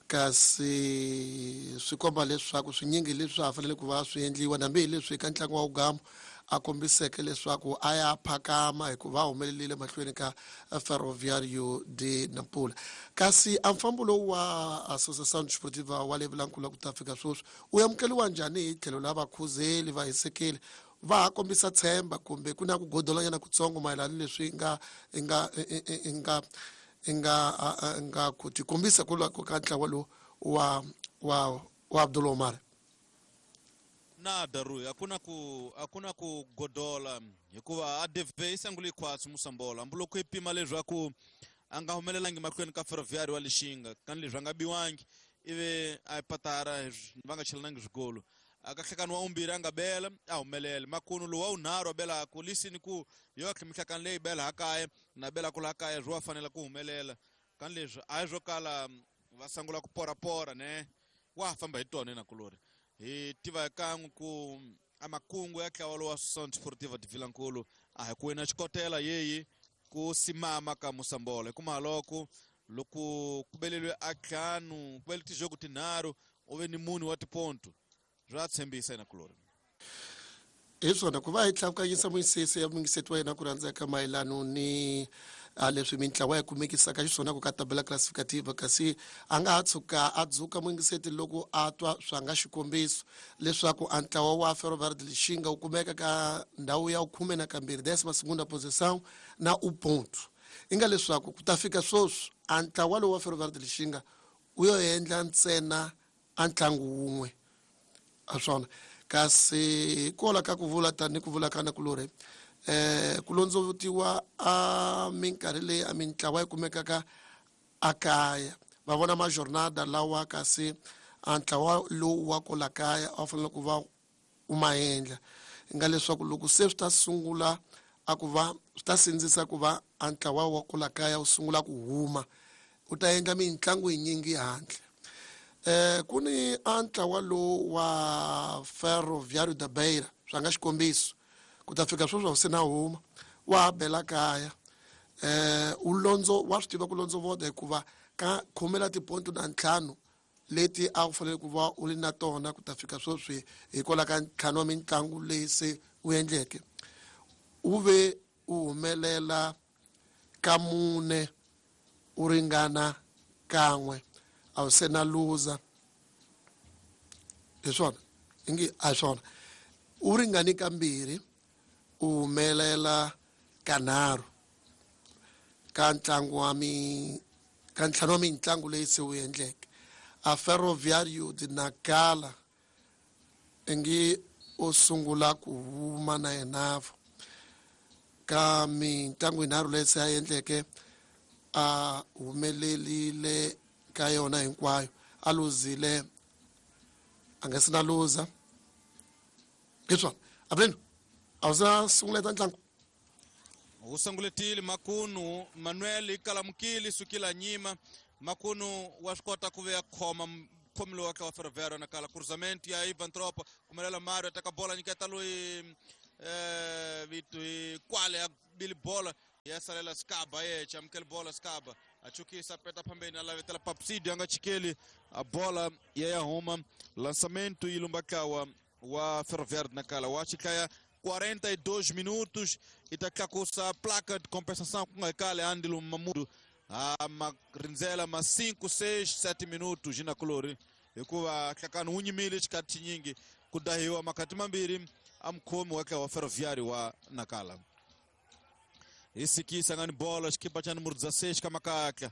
kasi swi komba leswaku swinyingi leswi ha fanele ku va swi endliwa nambi hi leswi ka ntlangu wa wugamu a kombiseke leswaku a ya phakama hikuva a humelerile mahlweni ka Ferroviario de Nampula. Kasi a mfambo lowu wa Associação Desportiva wa le Vilankulu ku ta fika sweswi u amukeliwa njhani hi tlhelo la vakhuzeli va hisekeli? Va ha kombisa tshemba kumbe ku na ku godolanyana kutsongo mayelana ni leswi nga nga nga nga nga ku tikombisa ku ka ntlawa lowu wa Abdul Omar? Nada, Rui, hakuna ku godola hikuva ADV yi sungule khwatsi Musambola hambi loko yi pima leswaku a nga humelelangi mahlweni ka Ferroviário wa Lixinga kani leswi a nga biwangi ivi a yi patara va nga chelanangi swigolo aka nhlekani wa vumbirhi a nga bela a humelela makunu lowu wa vunharhu a belaku lisini ku yo mihlakani leyi bela hakaya na bela ku laha kaya swi wa fanela ku humelela kani leswi a hi swo kala va sungula ku porapora ne wa ha famba hi tona nakulori hi tiva kan'we ku a makungu ya ntlawa lowa Associação Desportiva de Vilankulu a hi ku wina xikotela yeyi ku simama ka Musambola hikuma loko loko ku beleliwe a ntlhanu ku bele tijogo tinharhu u ve ni mune wa tiponto swa tshembisa nakulori. Hi swona ku va hi tlakukanyisa muyisisi ya muyingiseti wa yena ku rhandzeka mayelano ni a leswi mintlawa ya kumekisaka xiswona ku ka tabela classificativa, kasi a nga ha tshuka a dzuka muyingiseti loko a twa swa nga xikombiso leswaku a ntlawa wa Ferroviário de Lixinga wu kumeka ka ndhawu ya 12, décima segunda posição na u ponto i nga leswaku ku ta fika sweswi a ntlawa lowu wa Ferroviário de Lixinga wu yo endla ntsena a ntlangu wun'we a swona. Kasi hikola ka ku vula tani ku vula ka nakulorhi ku londzovutiwa a minkarhi leyi a mintlawa yi kumekaka a kaya va vona majornada lawa, kasi a ntlawa lowu wa kola kaya a wu fanele ku va u ma endla nga leswaku loko se swi ta sungula a ku va swi ta sindzisa ku va a ntlawa wa kola kaya wu sungula ku huma u ta endla mitlangu yinyingi handle. Ku ni a ntlawa lowu wa Ferroviário da Beira, swa nga xikombiso ku ta fika sweswi se na huma wa ha bela kaya u londzo wa swi tiva ku londzovota hikuva ka khomela tiponto na ntlhanu leti a wu fanele ku va u ri na tona ku ta fika sweswi hikwalaho ka ntlhanu wa mitlangu leyi se u endleke u ve u humelela ka mune u ringana kan'we a wu se na luza. Hi swona ingi a hi swona u ringani kambirhi u humelela kanharhu ka ntlangu wa mi ka ntlhanu wa mitlangu leyi se wu endleke. A Ferroviário de Nacala ingi u sungula ku huma na yenavo ka mitlangu yinharhu leyi se a endleke a humelerile ka yona hinkwayo a luzile a nga se na luza. Hi swona aveleni a wu se na sunguleta ntlangu. Wu sunguletile makunu Manuel ikalamukile sukila nyima makunu wa swi kota ku ve khoma khomi lowu wa tlawa Ferroviário Nacala cruzamento ya Ivan Tropa kumelela Mario ataka bola nyiketa loyi vitu kwale ya bili bola ya salela Skaba yeche amukele bola Skaba achukisa peta pambeni alavetela Papsidio anga chikeli a bola ya ya huma lançamento ilumbakawa wa Ferroviário de Nacala wa xihlaya 42 minutos e ta tlakusa placa de compensação ku nga kale andilo mamudu a ma rindzela ma 5 6 7 minutos nakulori hikuva hlakani wu nyimile xikati xinyingi ku dahiwa makhati mambirhi a mukhomi wa wa Ferroviário wa Nacala hi sikisa nga ni bola xikipa xa numero 16 ka makatla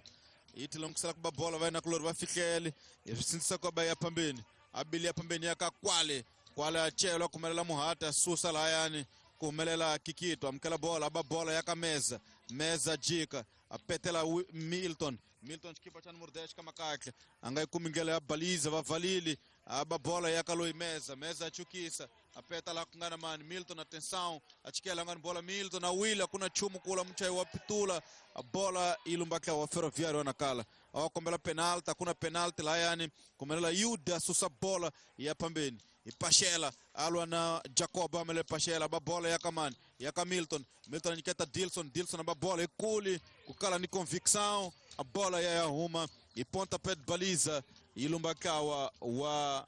yi tilongisela ku ba bola va nakulori va fihlele hi swi sindzisa ku ba ya phambeni a bili ya phambeni ya ka kwale kwale a celwa kumelela muhata susa lahayani ku humelela Kikito amukela bola aba bola ya ka meza meza jika apetela Milton Milton xikipa xa numero 10 ka makatla a nga yi kumi ndlela ya baliza va valile aba bola ya ka loyi meza meza achukisa apeta la ku nga na mani Milton atenção achikela nga ni bola Milton awile akuna nchumu kula muchayi wa pitula a bola yi lumba wa Ferroviário wa Nacala awa kombela penalty akuna penalty lahayani kumelela Yuda susa bola ya pambeni ipashela alwa na Jacob amele pashela ba bola ya kamani ya ka Milton Milton anyiketa Dilson Dilson ba bola ikuli kukala ni convicção a bola ya huma e pontapé de baliza ilumbakawa wa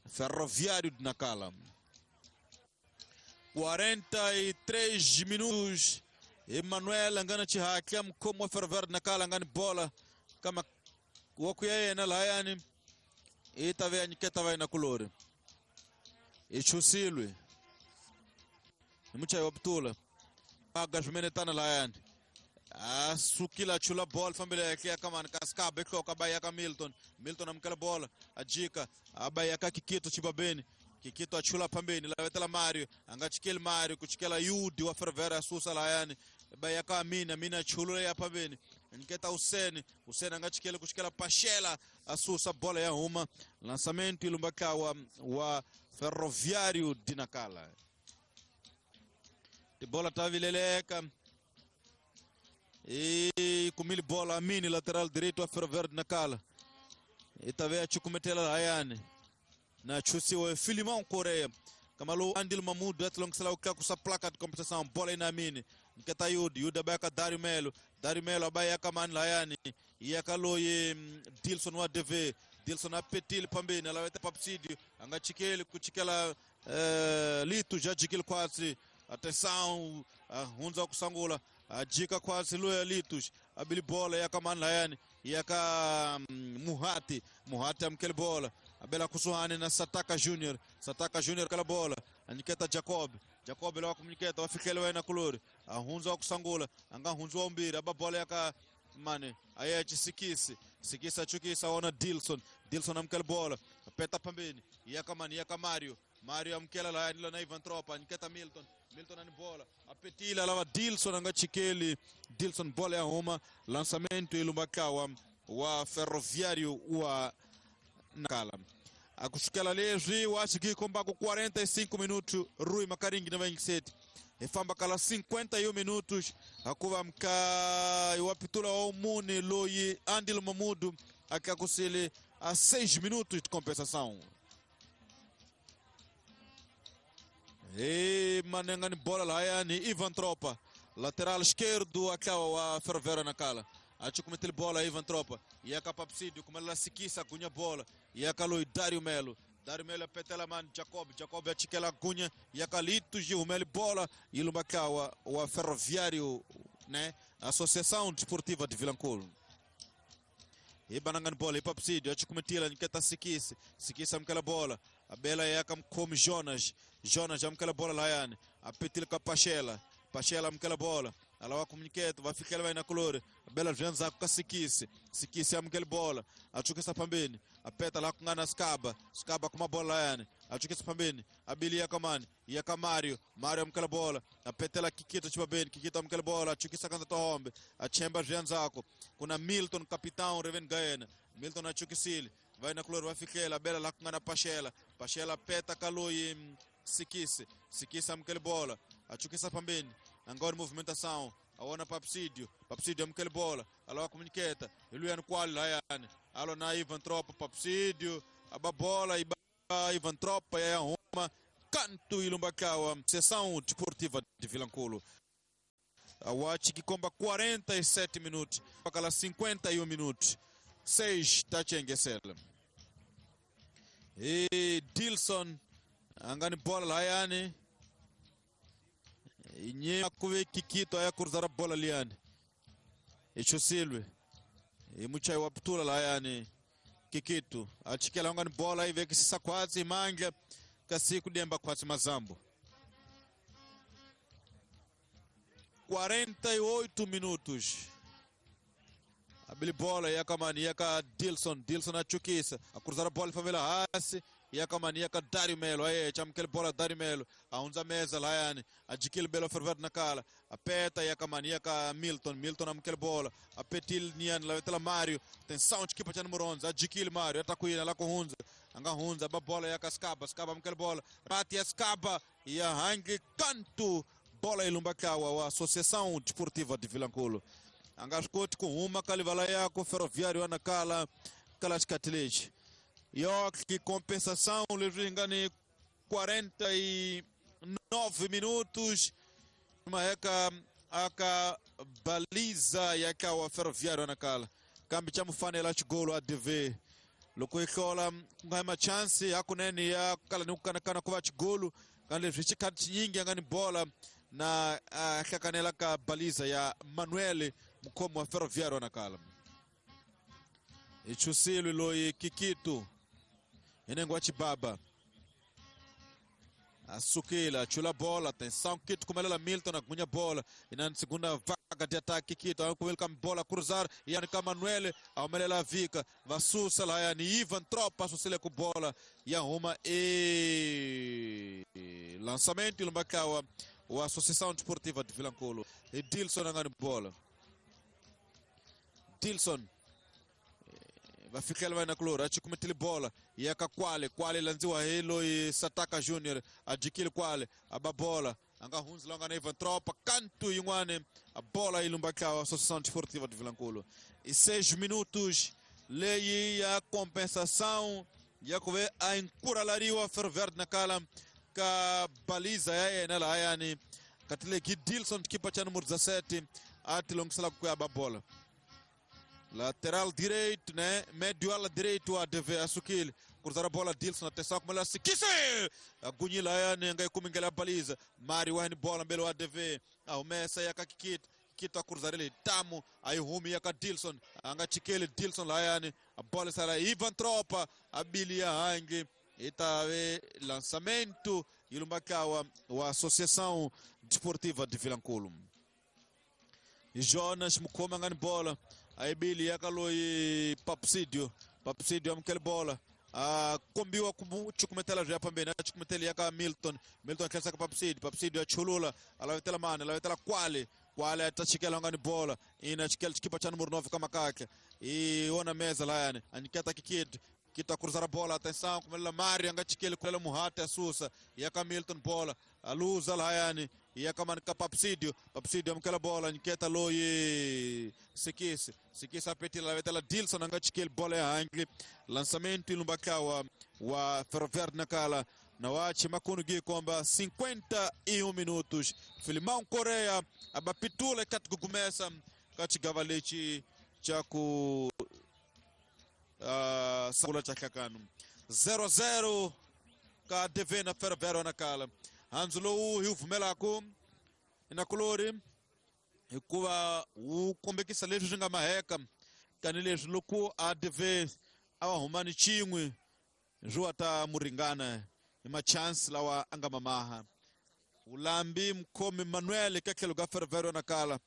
Ferroviário de Nacala. 43 minutos. Emmanuel angana chihatla mkhomo wa Ferroviário Nacala angani bola kama wakuya yena lahayani i ta ve a nyiketa va yena kulori i chusilwe ni muchayi wa putula aga swimenetana lahayani a sukile a chula bola fambile ya ya kamani ka Skaba ehloka ba ya ka Milton. Milton amukela bola a jika a ba ya ka Kikito Chibabeni. Kikito a chula phambeni lavetela Mario a nga chikeli Mario ku chikela Yudi wa Ferroviário a susa lahayani ba ya ka Amina. Amina a chulula ya phambeni nyiketa Usene. Usene a nga chikeli ku chikela Pachela a susa bola ya huma. Lançamento ilumbakawa wa Ferroviário de Nacala. Tibola ta vileleka e kumile bola Amini lateral direito wa Ferroviário de Nacala. E ta ve a chukumetela lahayani na chusiwa Filimão Coreia. Kamalu Andil Mamudu atlongisela uklakusa placa de compensação. Bola ina Amini. Nketa Yudi. Yudi abayaka Dário Melo. Dário Melo abayaka mani lahayani. Iyakaloye Dilson wa DV. Dilson apetile pambeni alaweta papsidio. Anga chikeli kuchikela litu jajikili kwatsi. Atenção hunza kusangula. Ajika kwatsi luya litus. Abili bola yakamani lahayani. Yaka Muhati. Muhati amkele bola. Abela kusuhani na Sataka Junior. Sataka Junior kala bola. Aniketa Jacob. Jacob lá comuniceta, wafikele wena kulori. Ahunza wakusangula, anga hunza wa umbiri, aba bola yaka mane. Aye chisikisi. Sikisi achukisa ona Dilson. Dilson amkele bola. Peta pambeni. Yaka mane, yaka Mario. Mario amkela la nila na Ivan Tropa, aniketa Milton. Milton ani bola. Apetila lava Dilson anga chikeli. Dilson bola ya huma. Lançamento ilumbakawa wa Ferroviário wa Nacala. Akusukela leswi wa xiki kombaku 45 minutos Rui Makaringi na 27 ifamba kala 51 minutos akuva mka wapitula wa mune loyi Andil Mamudu akakusele a 6 minutos de compensação. E manenga ni bola lahayani Ivan Tropa lateral esquerdo akawa wa Ferroviário Nacala. Achukumetele bola Ivan Tropa. E a Papsídio, como ela se quis, agunha bola. E a Caloi Dário Melo. Dário Melo apetela man Jacob. Jacob achiquela agunha. E a Calito Gil Melo bola. E Lumbacawa, o Ferroviário, né? Associação Desportiva de Vilanculo. E banangan bola, e Papsídio, achukumetela, niketa Sikisi. Sikisi amkela bola. A bela é a como Jonas. Jonas amkela bola Laiane. Apetila com a Pachela. Pachela amkela bola. Ela vai comunicar, vai ficar vai na color. A bela janza com a Sikisi. Sikisi amkela bola. Achuka pambeni. Apeta lá com a Skaba. Skaba com uma bola Laiane. Achuka pambeni. Abilia kamani. Ia Mario. Mario amkela bola. Apetela Kikito chibabeni. Kikito amkela bola. Achuka kanta tohombe. Achemba janzako. Kuna Milton capitão Reven Gaena. Milton achukisili. Vai na color, vai ficar. A bela lá com a Pachela. Pachela peta caloi Sikisi. Sikisi amkela bola. Achuka pambeni. Agora movimentação. Aona Papsídio. Papsídio amkele bola. Alô comuniqueta. Iluiano qual Laiane. Alô na Ivan Tropa Papsídio. A bola e Ivan Tropa e a Roma. Canto Ilumbakawa. Sessão Desportiva de Vilanculo. A Watch que comba 47 minutos. Aquela 51 minutos. 6 tachengesela. E Dilson angani bola Laiane. Inye kuve Kikito aya cruzar a bola liane. Echosilwe. E muchai waptula layane Kikito. Achikela ngani bola ive kisisa kwatsi manja kasi kudemba kwatsi mazambo. 48 minutos. Abili bola yakamani yaka Dilson. Dilson achukisa. A cruzar a bola favela hasi. Yakamani yaka Dário Melo. Aye chamkel bola Dário Melo. A mesa layane. Adquire belo ferver na cala. Apeta yakamani yaka Milton. Milton amkel bola. Apetil nian lavetela Mario. Tensão de equipa número 11. Adquire Mario. Atacuina lá com Hunza. Anga Hunza. Ba bola yaka Skaba. Skaba amkel bola. Bate a Skaba. E a hangue canto. Bola ilumbakawa. A Associação Desportiva de Vilanculo. Angascoti com uma calivala yako Ferroviário Nacala. Kalascatilete. York, que compensação, engane 49 minutos. Uma eka aka baliza yaka wa Ferroviário Nacala. Kambi cha mufanela chigolo ADV. Loko ikola ngama chance akunene ya kala nukana kana kuva chigolo. Kambe leswi xikhathi xinyingi a nga ni bola na hlakanela ka baliza ya Manuel, mukhomi wa Ferroviário Nacala. Hi chusilwe loyi Kikito hi nengo wa Chibaba, asukile, achula bola. Atenção, Kito kumelela Milton, agunya bola ina segunda vaga de ataque. Kito akumela bola, cruzar yani ka Manuel, aumelela vika vasusa la yani Ivan Tropa asusile ku bola ya huma e lançamento ilumbakawa wa Associação Desportiva de Vilankulo. E Dilson angani bola. Dilson vafikela va na kulori achikumetile bola yaka kwale kwale, landziwa hi loyi Sataka Junior, ajikile kwale, aba bola, anga hundzi la nga na Ivan Tropa kantu yin'wani, a bola yi lumbakawa Associação Desportiva de Vilankulo. E 6 minutos leyi ya compensação ya ku ve a encurralariwa Ferroviário Nacala ka baliza ya yena lahayani katileki Dilson, kipa cha número 17, a tilongisela ku ya ba bola. Lateral direito, né? Médio ala direito, a DV asukile. Cruzar a bola, Dilson, atenção, como ela se quise! Agunhila yani ngai kumingela baliza. Mari wani bola mbele wa DV. Aumesa ya kakikit. Kito a cruzar ele tamu, aí humi ya ka Dilson. Anga chikele Dilson lá yani. A bola sala Ivan Tropa, a bilia hangi. Itave lançamento ilumbakawa wa Associação Desportiva de Vilankulo. Jonas mukoma ngani bola. Aibili yakaloyi Papsidio, Papsidio amukele bola, kombiwa chukumetela zwa pambeni, achukumetela yaka Milton, Milton akhelesa ka Papsidio, Papsidio achulula, alavetela mane, alavetela kwale kwale, atachikela ngani bola ina chikela chikipa cha número 9 kama kake iona meza layani aniketa kikid kita cruzar a bola, atenção, kumelela Mário, angachikele kulela Muhate, asusa yaka Milton bola, aluza layani yaka manika Papsidio, Papsidio amukela bola, niketa loyi Sikisi, Sikisi apetila vetela Dilson, angachikele bola ya hangi. Lançamento ilumbakawa wa Ferroviário Nacala na wachi makunu gikomba 51 minutos. Filimão Correa abapitula katikugumesa kachigava lechi chaku sangula cha kakanu 0-0 ka DV na Ferroviário Nacala. Hanzu lowu hi wu pfumelaku inakulori hikuva wu kombekisa leswi swi nga maheka tanihileswi loko ADV a va huma ni xin'we swi wa ta muringana hi machance lawa a nga mamaha. Ulambi mukhomi Manuel ka tlhelo ka Ferroviário Nacala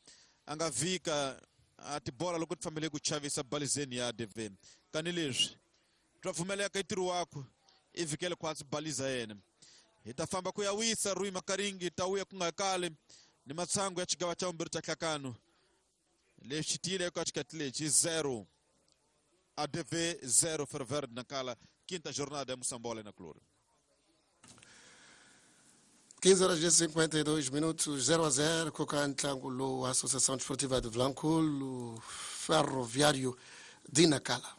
a nga vhika a tibola loko ti fambile ku chavisa balizeni ya ADV, tanihileswi swa pfumeleka i ntirho wakwe i vhikele khwatsi baliza yena. Hi ta famba ku ya wisa Rui Makaringi, ta wuya ku nga kali ni matsangu ya xigava xa vumbirhi xa nhlakano lexi tiyile eka xikati lexi 0 ADV 0 Ferroviário Nacala, quinta jornada ya Moçambola na Clube. 15 horas e 52 minutos, 0-0, com ntlangu lowu Associação Desportiva de Vilankulo, Ferroviário de Nacala.